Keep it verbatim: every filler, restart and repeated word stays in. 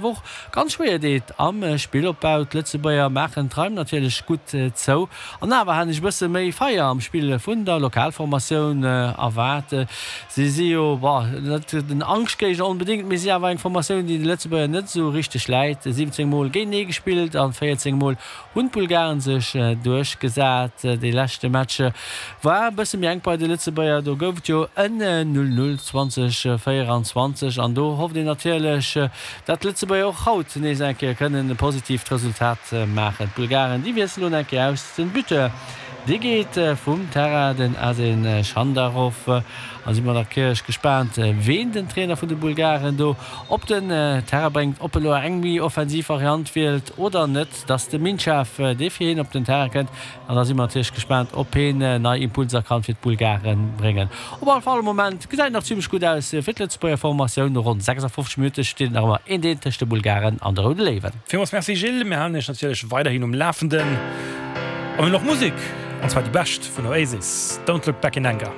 Woch ganz schwéier deet am Spillopbau. D'Lëtzebuerger maachen d'Raim natierlech gutt zou an awer hat ech e bësse méi Feier am Spill vun der Lokalformatioun erwaart. Si si jo, bon, net den Angschtgéigner onbedéngt, mee si awer eng Formatioun, déi de Lëtzebuerger net esou richteg läit. siwwenzéng Mol géintenee gespillt a véierzéng Mol hunn d'Bulgaren sech duerchgesat. Dee leschte Match war e bësse méi enk bei de Lëtzebuerger, do gouf et jo en null null zwanzeg véieranzwanzeg an do hofft een natierlech, datt d'Lëtzebuerger och haut nees eng Kéier kënnen e positiivt Resultat maachen. D'Bulgaren, déi wiesselen elo eng Kéier aus. Den Buteur, dee geet vum Terrain, den Asen Schandarov. A si mer natierlech gespaant, ween den Trainer vun de Bulgaren do op den Terrain bréngt, ob e lo eng méi offensiv Variant wielt oder net, dass de Minchev, dee fir hien op den Terrain kënnt. An da si mer natierlech gespaant, ob heen nei Impulser kann fir d'Bulgaren bréngen. Op alle Fall, am Moment gesäit et nach zimlech gutt aus fir d'Lëtzebuerger Formatioun. No ronn sechsafofzeg Minutte steet et nach ëmmer eent eent tëscht de Bulgaren an de Roude Léiwen. Villmools Merci Gilles, mir halen iech natierlech weiderhin um Lafenden. A mir hunn och Musek, an zwar déi bescht vun Oasis, Don't Look Back in Anger.